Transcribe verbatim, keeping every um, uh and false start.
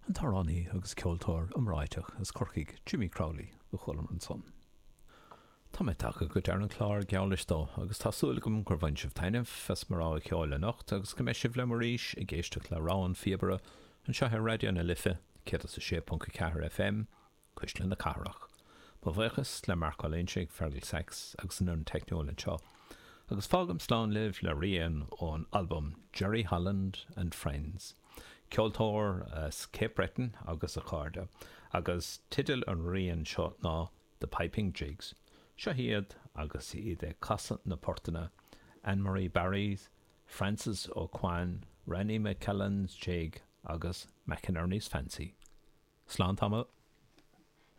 An t-amhránaí agus ceoltóir iomráiteach as Corcaigh Jimmy Crowley a chualamar ansan. Tá mé tagtha go deireadh an chláir geall leis dó agus tá súil agam gur bhain sibh taitneamh as mo rogha ceoil anocht agus go mbeidh sibh liom arís ag éisteacht le Rogha an Phíobaire anseo ar Raidió na Life céad is a sé ponc a ceathair FM, Cuisle na Cathrach. Mo bhuíochas le Mark Ó Loingsigh, Fergal Sachs agus an fhoireann teicniúil anseo. Agus fágaim slán libh le rian ón album Jerry Holland and Friends. Ceoltóir as Cape Breton agus a chairde, agus teideal an rian seo ná The Piping Jigs. Seo iad agus iad ag casadh na portanna, Anne-Marie Barry's, Francis O'Quan, Ranny McKellan's Jig agus McInerney's Fancy. Slán tamall.